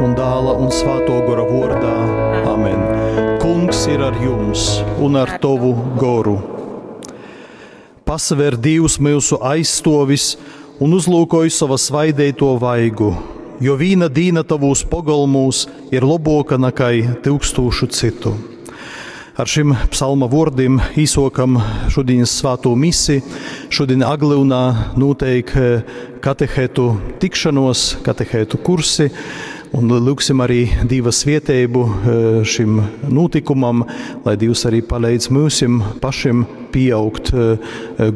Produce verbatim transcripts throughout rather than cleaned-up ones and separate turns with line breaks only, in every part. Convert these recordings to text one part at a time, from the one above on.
un Dāla un Svātō Gora vōrdā. Amen. Kungs ir ar jums un ar tovu goru. Pasaver Dīvs myusu aizstovis un uzlūkoj sova svaideito vaigu, jo vīna dīna tavūs pogolmūs ir loboka nakai tyukstūšu cytu. Ar šim psalma vōrdim īsokam šodienas svātū misi. Šodien Aglyunā notiek katehetu tikšanos, katehetu kursi, un lūgsim arī Dīva svieteibu šim notikumam, lai Dievs arī palīdz mūsim pašim pieaugt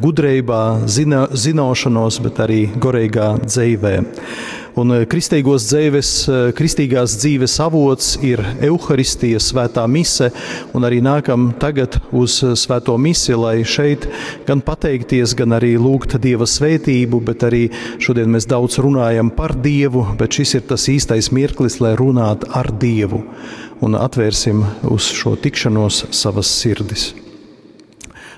gudrībā, zina, zināšanos, bet arī goreigā dzeivē. Un kristīgos dzīves, kristīgās dzīves avots ir Euharistija, svētā mise, un arī nākam tagad uz svēto misi, lai šeit gan pateikties, gan arī lūgt Dieva svētību, bet arī šodien mēs daudz runājam par Dievu, bet šis ir tas īstais mirklis, lai runātu ar Dievu. Un atvērsim uz šo tikšanos savas sirdis.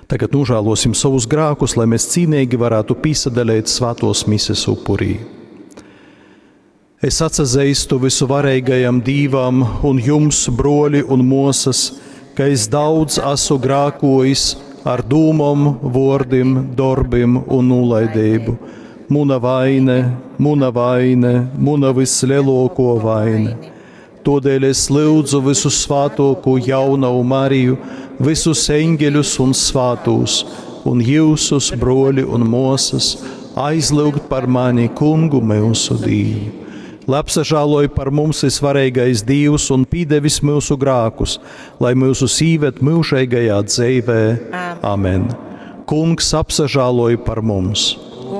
Tagad nožēlosim savus grēkus, lai mēs cīnīgi varētu piesadalīt svētos mises upurī. Es atsazīstu visuvarīgajam Dīvam un jums, broļi un mosas, ka es daudz esmu grākojis ar dūmom, vōrdim, darbim un nolaidību. Muna vaine, muna vaine, muna vislielāko vaine. Todēļ es lūdzu visu svātoko jaunavu Mariju, visus eņģeļus un svātos, un jūsus, broļi un mosas, aizlūgt par mani kungu mūsu Dievu. Lai apsažāloj par mums visvarīgais Dievs un pīdevis mūsu grākus, lai mūsu sīvet mūžīgajā dzīvē. Amen. Kungs apsažāloj par mums.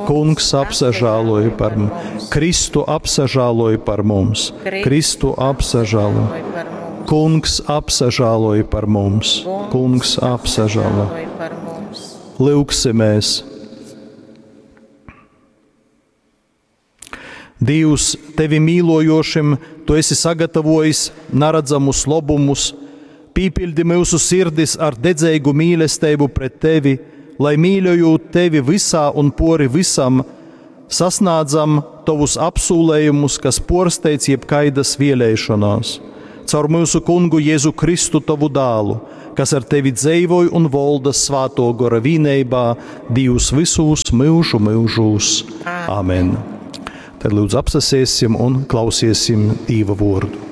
Kungs apsažāloj par mums. Kristu apsažāloj par mums. Kristu apsažāloj. Kungs apsažāloj par mums. Kungs apsažāloj. Lūgsimies. Dievs, tevi mīlojošim, tu esi sagatavojis neredzamus labumus, pīpildi mūsu sirdis ar dedzīgu mīlestību pret tevi, lai mīļojot tevi visā un pori visam, sasniedzam tavus apsūlējumus, kas porsteidz jebkaidas vēlēšanās. Caur mūsu kungu Jēzu Kristu tavu dālu, kas ar tevi dzīvoj un volda svāto gora vīneibā, Dievs visus mūžu mūžūs. Amen. Tad lūdzu apsasēsim un klausiesim Dieva vārdu.